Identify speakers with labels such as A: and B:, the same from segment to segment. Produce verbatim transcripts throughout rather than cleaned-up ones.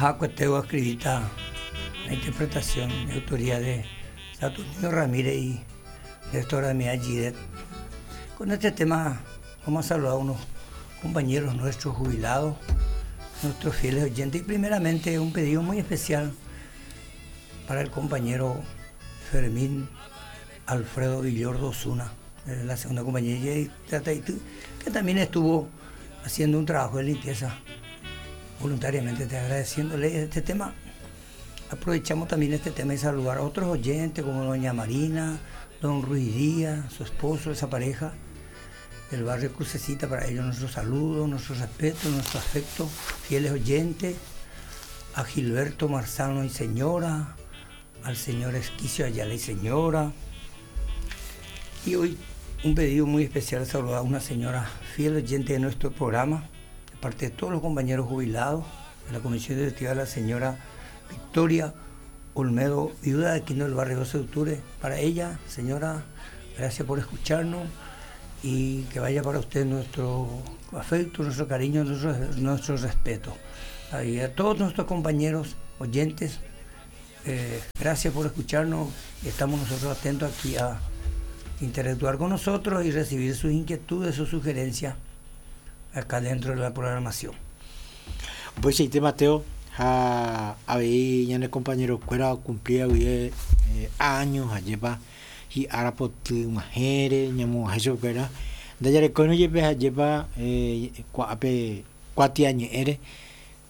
A: Aja escribita la interpretación de autoría de Saturnino Ramírez y Néstor Damián Gidet. Con este tema vamos a saludar a unos compañeros nuestros jubilados, nuestros fieles oyentes, y primeramente un pedido muy especial para el compañero Fermín Alfredo Villordo Osuna, de la segunda compañía, que también estuvo haciendo un trabajo de limpieza voluntariamente. Te agradeciéndole este tema. Aprovechamos también este tema y saludar a otros oyentes como doña Marina, don Ruiz Díaz, su esposo, esa pareja del barrio Crucecita. Para ellos nuestro saludo, nuestro respeto, nuestro afecto, fieles oyentes, a Gilberto Marzano y señora, al señor Esquicio Ayala y señora. Y hoy un pedido muy especial, saludar a una señora fiel oyente de nuestro programa, de parte de todos los compañeros jubilados de la Comisión Directiva, la señora Victoria Olmedo, viuda de Quino del barrio doce de octubre. Para ella, señora, gracias por escucharnos y que vaya para usted nuestro afecto, nuestro cariño, nuestro, nuestro respeto. Y a todos nuestros compañeros oyentes, eh, gracias por escucharnos. Estamos nosotros atentos aquí a interactuar con nosotros y recibir sus inquietudes, sus sugerencias acá dentro de la programación.
B: Pues sí, Mateo, ha avei ñane compañero-kuéra cumplía eh, años ajépa hi'ára poty g̃uahẽre ñamog̃uahẽ chupekuéra ndajarekóirõ jepe ajépa eh, ku'ápe kuatiañe'ẽre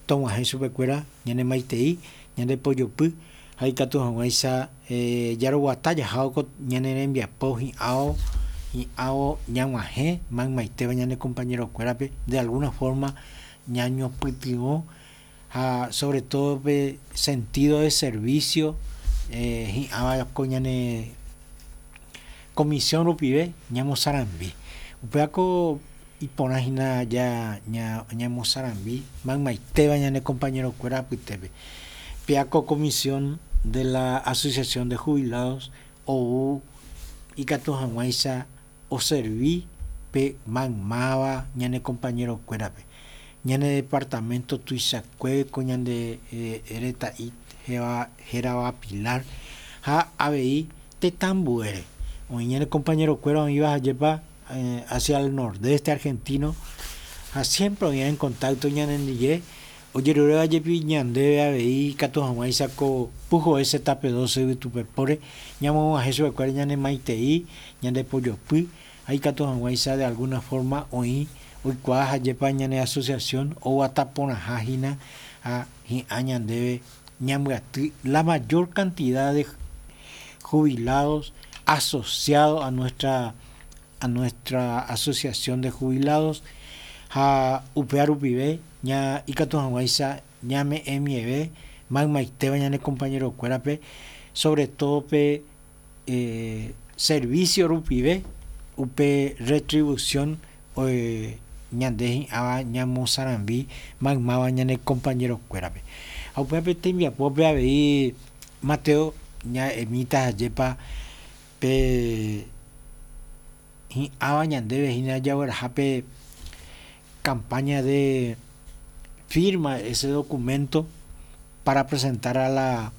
B: tog̃uahẽ chupekuéra ñane maitei ñande pojopy ha ikatu hag̃uáicha eh, jaroguata jahávo ñane rembiapo hi'áo hi'áo ñag̃uahẽ maymaitéva ñane compañero-kuérape de alguna forma ñañopytyvõ ha sobre todo pe sentido de servicio eh, hi'ãva ko ñane comisión rupive ñamosarambi upévako iporã hína ya ña ñamosarambi maymaitéva ñane compañero-kuéra apytépe péako comisión de la Asociación de Jubilados ou ikatu hag̃uáicha oservi pe maymáva ñane compañero-kuérape ñane departamento tuichakue ko ñande eh, reta'i héva hérava Pilar ha avei tetãmbuére oĩ ñane compañero-kuéra oĩva ajépa eh, hacia el nordeste argentino ha siempre oĩva en contacto ñanendive ojeruréva jepi ñandéve avei ikatu hag̃uáicha ko pujoe tape doce yvytupepóre ñamog̃uahẽ chupekuéra ñane maitei ñande pojopy ha ikatu hag̃uáicha de alguna forma oĩ oikuaa ajépa ñane asociación oguata porãha hína ha hi'ã ñandéve ñambyaty la mayor cantidad de jubilados asociados a nuestra a nuestra asociación de jubilados ha upéva rupive ña ikatu hag̃uáicha ñame'ẽmieve maymaitéva ñane compañero-kuérape sobre todo pe eh, servicio rupive upe retribución eh, ñande hi'ãva ñamosarambi maymáva ñane compañero-kuérape ha upévape tembiapópe avei Mateo ña'emíta ajépa pe hi'ãva ñandéve hína jaguerahápe campaña de firma ese documento para presentar a la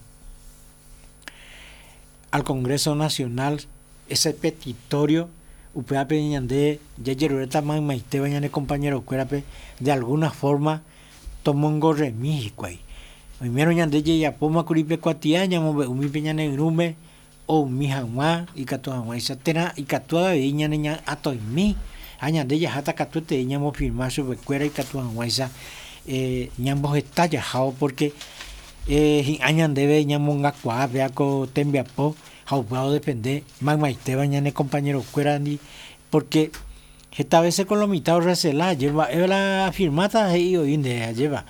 B: al Congreso Nacional ese petitorio upévape ñande jajeruréta maymaitéva ñane compañero-kuérape de alguna forma tomongorremi hikuái oimérõ ñande jejapómakuri pe kuatia ñamombe'umi pe ñane irũme oumi hag̃ua ikatu hag̃uáicha térã ikatu avei ñane ña'atoimi ha ñande jaháta katuetei ñamofirma chupekuéra ikatu hag̃uáicha eh, ñamboheta jahávo porque eh, hi'ã ñandéve ñamongakuaa péa ko tembiapo ha upéva odepende maymaitéva ñane compañero-kuérandi porque heta veces con lo mitad recela mba'e la firmáta he'i oĩ nde ajépa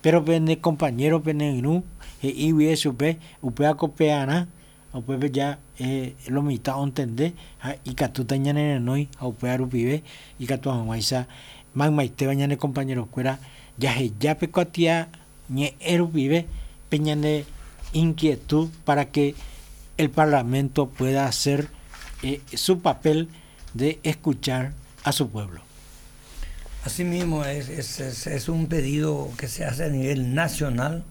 B: pero pene compañero pene irũ he'i guive chupe upéva ko pearã upépe ya eh, lo mitad ontende ha ikatúta ñanerenói ha upéva rupive ikatu hag̃uáicha maymaitéva ñane compañero-kuéra jaheja pe kuatia ñe'ẽ rupive pe ñane inquietud para que el Parlamento pueda hacer eh, su papel de escuchar a su pueblo.
A: Asimismo, es, es, es, es un pedido que se hace a nivel nacional.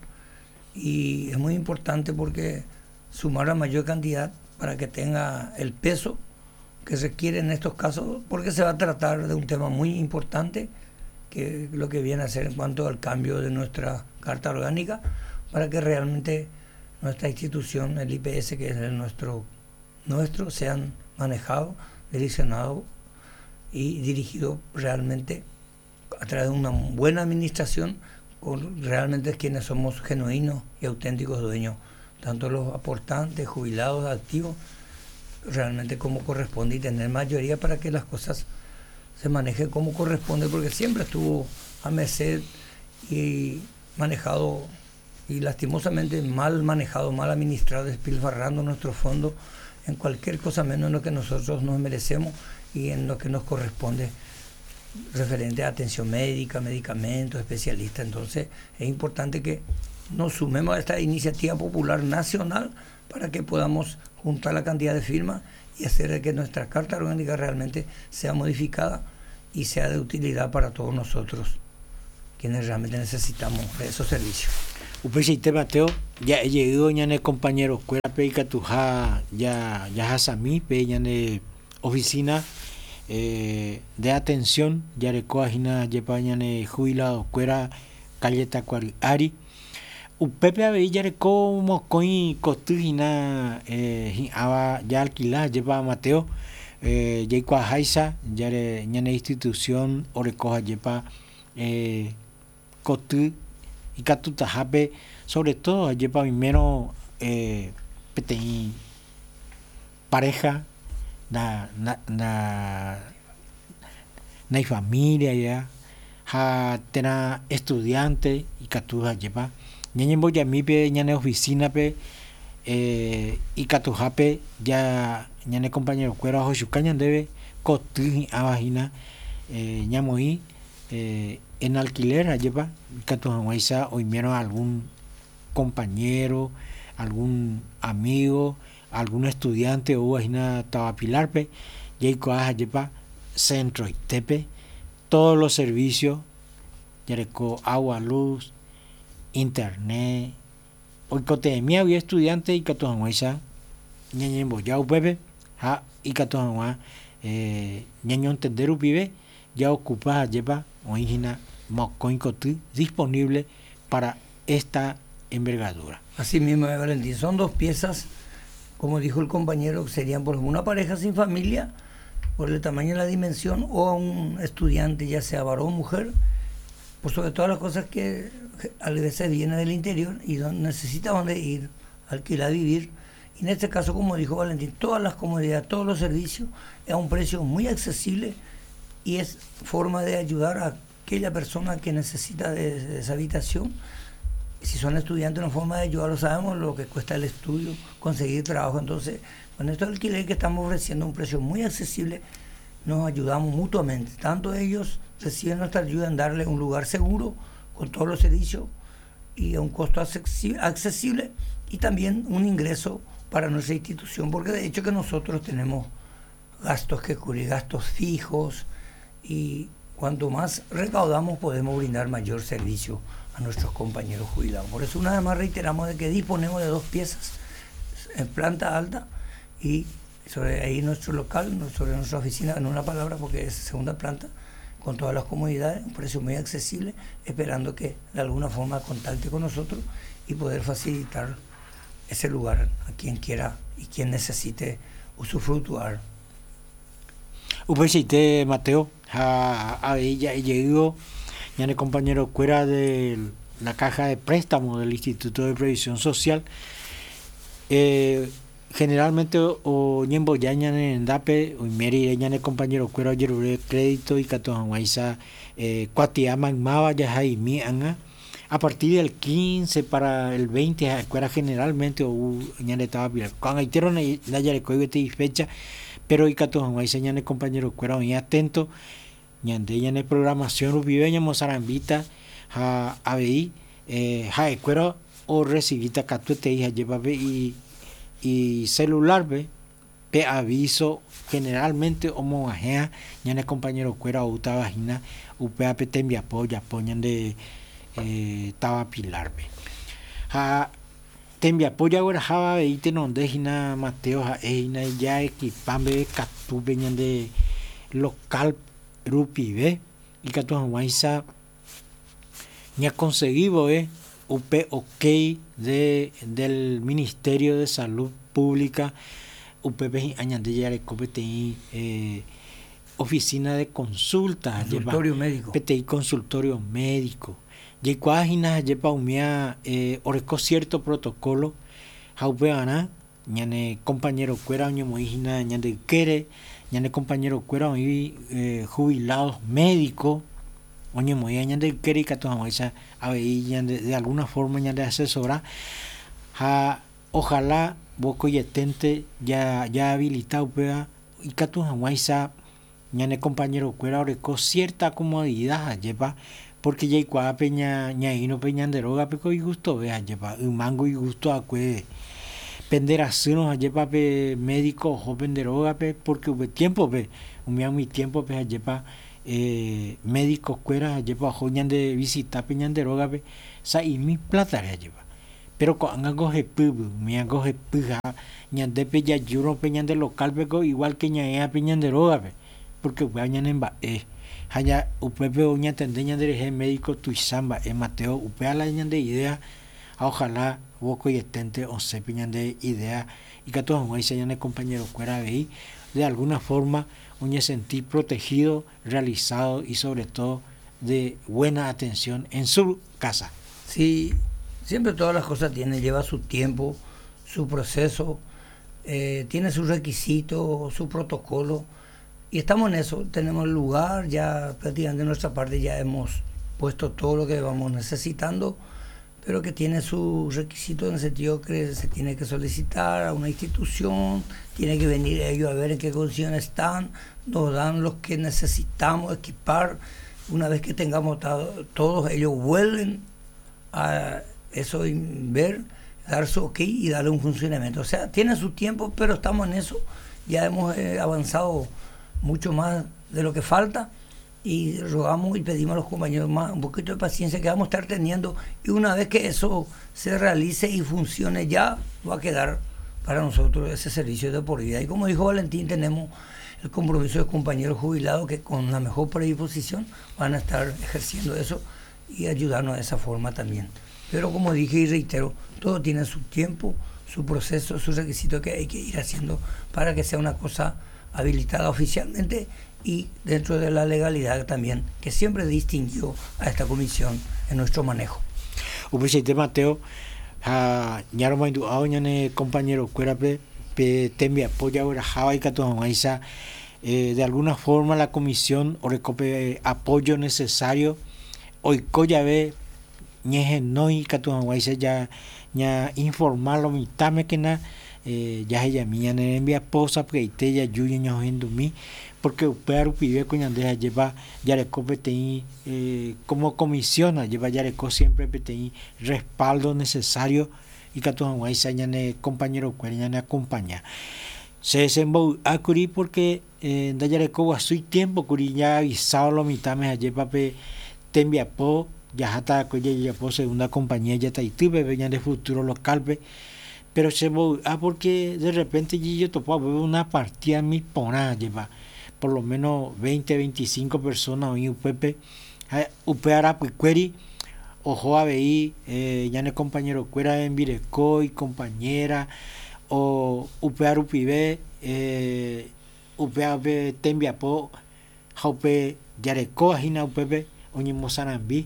A: Y es muy importante porque sumar la mayor cantidad para que tenga el peso que requiere en estos casos, porque se va a tratar de un tema muy importante, que lo que viene a ser en cuanto al cambio de nuestra Carta Orgánica, para que realmente nuestra institución, el I P S, que es el nuestro, nuestro, sean manejados, direccionados y dirigidos realmente a través de una buena administración con realmente quienes somos genuinos y auténticos dueños, tanto los aportantes, jubilados, activos, realmente como corresponde, y tener mayoría para que las cosas se manejen como corresponde, porque siempre estuvo a merced y manejado, y lastimosamente mal manejado, mal administrado, despilfarrando nuestro fondo en cualquier cosa menos en lo que nosotros nos merecemos y en lo que nos corresponde referente a atención médica, medicamentos, especialistas. Entonces es importante que nos sumemos a esta iniciativa popular nacional para que podamos juntar la cantidad de firmas y hacer que nuestra Carta Orgánica realmente sea modificada y sea de utilidad para todos nosotros, quienes realmente necesitamos de esos servicios.
B: Upeichaite, Mateo, ya he llegado ñane compañero kuérape ikatuha ya, ya jasami pe ñane oficina eh, de atención yarekóa hína jepa ñane jubilado kuéra calle Tacuary ári. Upépe avei jareko mokõi koty hína, eh, hi'ãva ya alquila jepa Mateo, eh, jaikuaaháicha jare ñane institución orekoha jepa, eh, koty ikatutahápe, sobre todo jepa oimérõ, eh, peteĩ pareja na, na, na, na ifamilia ya, ha térã estudiante ikatuha jepa ñañembojamípe ñane oficina-pe, eh, ikatuhápe ya ñane compañero-kuéra ohochuka ñandéve koty hi'ãva hína, eh, ñamoĩ, eh, en alquiler jepa ikatu hag̃uáicha oimérõ algún compañero, algún amigo, algún estudiante oúva hína táva Pilar-pe, jaikuaa jepa centroitépe todos los servicios, jareko agua, luz, internet, oikotevẽmi avei estudiante ikatu hag̃uáicha ñañemboja upépe ha ikatu hag̃ua, eh, ñañontende rupive ya ocupa jepa oĩ hína mokõi koty disponible para esta envergadura.
A: Así mismo, Valentín, son dos piezas, como dijo el compañero, serían por ejemplo una pareja sin familia, por el tamaño y la dimensión, o a un estudiante, ya sea varón o mujer, por sobre todas las cosas que a veces viene del interior y necesita dónde ir, alquilar, vivir. Y en este caso, como dijo Valentín, todas las comodidades, todos los servicios, a un precio muy accesible, y es forma de ayudar a aquella persona que necesita de, de esa habitación. Si son estudiantes, una forma de ayudarlo, sabemos lo que cuesta el estudio, conseguir trabajo. Entonces, con estos alquileres que estamos ofreciendo a un precio muy accesible, nos ayudamos mutuamente. Tanto ellos reciben nuestra ayuda en darle un lugar seguro, con todos los servicios y a un costo accesi-, accesible, y también un ingreso para nuestra institución, porque de hecho que nosotros tenemos gastos que cubrir, gastos fijos, y cuanto más recaudamos podemos brindar mayor servicio a nuestros compañeros jubilados. Por eso una vez más reiteramos de que disponemos de dos piezas en planta alta y sobre ahí nuestro local, sobre nuestra oficina, en una palabra, porque es segunda planta, con todas las comodidades, un precio muy accesible, esperando que de alguna forma contacte con nosotros y poder facilitar ese lugar a quien quiera y quien necesite usufructuar.
B: Upeichaite, Mateo, ha, ha, ya he llegado, ya el compañero fuera de la caja de préstamo del Instituto de Previsión Social. Eh, generalmente o ñembo ya ñane ndape o meri ñane compañero cuero yerure crédito y katuanguaiza, eh, cuatia magmaba ya jaimi anga a partir del quince para el veinte cuera generalmente o ñane estaba bien cuando hicieron la yareco y fecha pero y katuanguaiza ñane compañero cuero muy atento ñande ñane programación rupive ñamo sarambita ja avei, eh, ja cuero o recibita katuete hija lleva y y celular ve pe aviso generalmente omo ajea ñane compañero cuera o taba hina upe ape tembiapo ya poñan de, eh, taba Pilar ve. Ha tembiapo jaguerahava avei tenonde hína Mateo ha'e hína jaequipámbe katúpe ñande local rupive ikatu hag̃uáicha ñaconseguívove upe ok de del Ministerio de Salud Pública upépe hi'ã ñande jareko peteĩ eh, oficina de consulta
A: Consultorio médico.
B: Peteĩ consultorio médico jaikuaa hína jepa umía eh, oreko cierto protocolo ha upevarã ñane compañero-kuéra oñemoĩ hína ñande ykére ñane compañero-kuéra oĩ eh, jubilados médicos oñemoĩva ñande ykére ikatu hag̃uáicha avei ñande de alguna forma ñande asesora ha ojalá vokoietente ya ya habilita upéva ikatu hag̃uáicha ñane compañero-kuéra oreko cierta comodidad jepa porque jaikuaápe ña ñaĩrope ñande rógape ko igustove jepa ymango igusto akue penderasýrõ jepa pe médico oho pende rógape porque upe tiempo-pe umi umi tiempo-pe jepa eh, médico-kuéra jepa oho ñande visitápe ñande rógape sa'imi plata-re jepa pero ko'ág̃a hepýpy umíango hepy ha ñandépe jajúrõ pe ñande local-pe ko igual que ñaĩape ñande rógape porque upéva ñanemba'e ha ña upépe oñatende ñanderehe médico tuicha mba'e Mateo upéva la ñande idea ha ojalá vokoietente osẽpe ñande idea ikatu hag̃uáicha ñane compañero-kuéra avei de alguna forma oñesentir protegido, realizado y sobre todo de buena atención en su casa.
A: Sí, siempre todas las cosas tienen, lleva su tiempo, su proceso, eh, tiene sus requisitos, su protocolo, y estamos en eso, tenemos el lugar, ya prácticamente de nuestra parte ya hemos puesto todo lo que vamos necesitando, pero que tiene sus requisitos en el sentido que se tiene que solicitar a una institución, tiene que venir ellos a ver en qué condiciones están, nos dan los que necesitamos equipar. Una vez que tengamos todos, ellos vuelven a eso, ver, dar su ok y darle un funcionamiento. O sea, tiene su tiempo, pero estamos en eso. Ya hemos eh, avanzado mucho más de lo que falta y rogamos y pedimos a los compañeros más un poquito de paciencia que vamos a estar teniendo, y una vez que eso se realice y funcione ya va a quedar para nosotros ese servicio de por vida. Y como dijo Valentín, tenemos el compromiso de compañeros jubilados que con la mejor predisposición van a estar ejerciendo eso y ayudarnos de esa forma también. Pero como dije y reitero, todo tiene su tiempo, su proceso, su requisito que hay que ir haciendo para que sea una cosa habilitada oficialmente y dentro de la legalidad también, que siempre distinguió a esta comisión en nuestro manejo.
B: Upeichaite Mateo, ha ñaromoindu'ávo ñane compañero-kuérape pe tembiapo jagueraháva ikatu hag̃uáicha eh, de alguna forma la comisión orekópe apoyo necesario oiko jave ñehenói ikatu hag̃uáicha ya ña informar lo mitãmekena eh, jahejami ñane rembiapo sapy'aite jaju ñañohendumi porque upéva rupive ko ñande jajépa jareko peteĩ eh, como comisión ajépa jareko siempre peteĩ respaldo necesario ikatu hag̃uáicha ñane compañero-kuéra ñane acompaña. Se desembovy'ákuri porque eh, ndajareko guasúi tiempo kuri ya avisado lo mitãme ajépa pe tembiapo jaháta ko jajapo segunda compañía jataitýpe pe ñande futuro local-pe, pero chembovy'a porque de repente jetopa una partida mi porã jepa por lo menos veinte, veinticinco personas oĩ upépe ha upe arapykuéri oho avei eh, ñane compañero-kuéra hembireko y compañera o upe arupive eh, upeape tembiapo ha upe jareko hína upépe oñemosarambi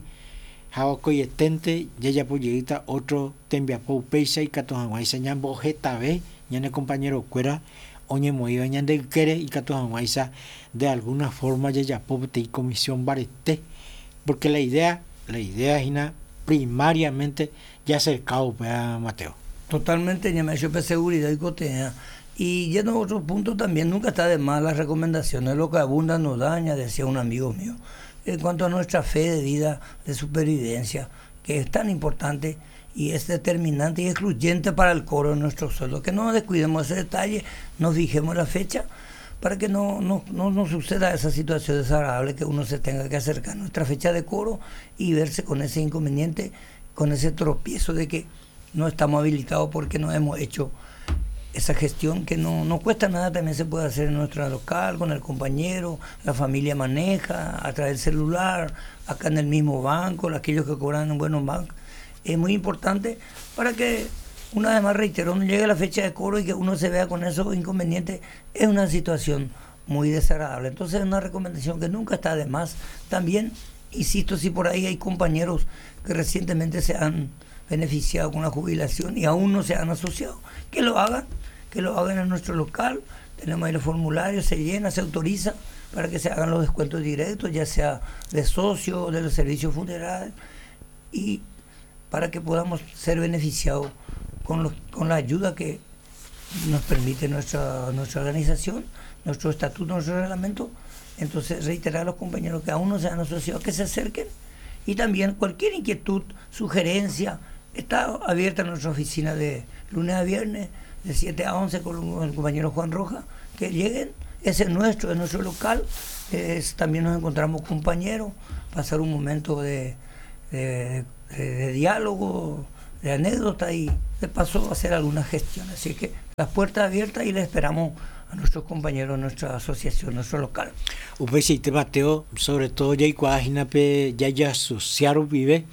B: ha okoietente jajapojeýta otro tembiapo upéicha ikatu hag̃uáicha ñambohetave ñane compañero-kuéra oñemoĩva ñande ykére ikatu hag̃uáicha de alguna forma jajapo peteĩ comisión mbarete porque la idea la idea hína primariamente ya acercado upéva Mateo.
A: Totalmente, ñame'ẽ chupe seguridad y cotea. Y yendo a otro punto también, nunca está de más las recomendaciones, lo que abunda no daña, decía un amigo mío. En cuanto a nuestra fe de vida, de supervivencia, que es tan importante y es determinante y excluyente para el cobro de nuestro sueldo. Que no descuidemos ese detalle, nos fijemos la fecha para que no, no, no nos suceda esa situación desagradable que uno se tenga que acercar a nuestra fecha de cobro y verse con ese inconveniente, con ese tropiezo de que no estamos habilitados porque no hemos hecho esa gestión que no, no cuesta nada, también se puede hacer en nuestra local, con el compañero, la familia maneja, a través del celular, acá en el mismo banco, aquellos que cobran en buenos bancos. Es muy importante para que, una vez más reitero, no llegue la fecha de cobro y que uno se vea con esos inconvenientes. Es una situación muy desagradable. Entonces es una recomendación que nunca está de más. También, insisto, si por ahí hay compañeros que recientemente se han beneficiado con la jubilación y aún no se han asociado, que lo hagan, que lo hagan en nuestro local. Tenemos ahí los formularios, se llena, se autoriza para que se hagan los descuentos directos, ya sea de socio, de los servicios funerarios, y para que podamos ser beneficiados con, los, con la ayuda que nos permite nuestra, nuestra organización, nuestro estatuto, nuestro reglamento. Entonces, reiterar a los compañeros que aún no se han asociado, que se acerquen, y también cualquier inquietud, sugerencia, está abierta nuestra oficina de lunes a viernes, de siete a once, con el compañero Juan Rojas, que lleguen. Ese es nuestro, es nuestro local. Es, también nos encontramos compañeros, pasar un momento de, de, de, de diálogo, de anécdota y de paso hacer alguna gestión. Así que las puertas abiertas y les esperamos a nuestros compañeros, nuestra asociación, nuestro local.
B: Upeichaite Mateo, sobre todo jaikuaahína pe jajeasociaron vive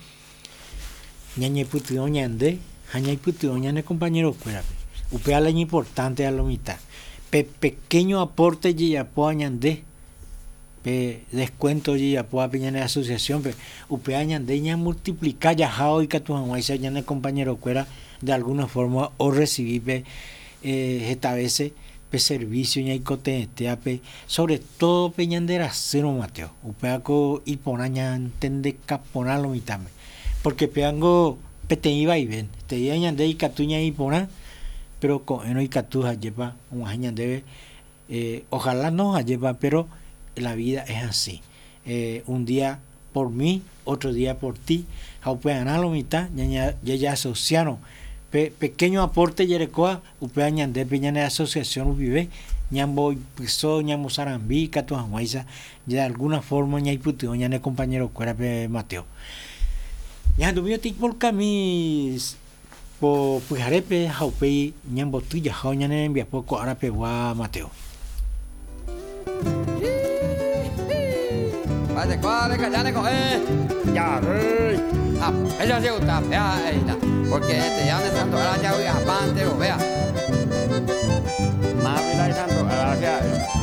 B: ñañepytyvõ ñande ha ñaipytyvõ ñane compañerokuérape. Upéva la importante a lo mitad. Pe pequeño aporte jejapóva ñande, pe descuento jejapóva pe ñane asociación, pe upéva ñande ñamultiplica jaha ikatu hag̃uáicha ñane compañerokuéra de alguna forma o recibí pe eh, esta veces pe servicio ñaikotevẽtéape, sobre todo pe ñanderasýrõ Mateo, upévako iporã ñantendekaporã lo mitãme, porque pévango peteĩ vaivénte, te'íva ñande ikatu ñaiporã, pero ko'ẽrõ ikatu hajépa og̃uahẽ ñandéve, eh, ojalá no hajépa, pero la vida es así, eh, un día por mí, otro día por ti, ha upearã lo mitã jajeasociárõ pe pequeño aporte jerekóva upéva ñande pe ñane asociación rupive ñamboipyso ñamosarambi ikatu hag̃uáicha de alguna forma ñaipytyvõ ñane compañerokuérape Mateo. Ñahendumi oĩporkami po pyharépe ha upéi ñamboty jaha ñane rembiapo ko árapegua Mateo.
C: Ella se gusta, vea, porque este ya de Santo Gracia, voy a Pante, vea.
D: Mávila y Santo Gracia.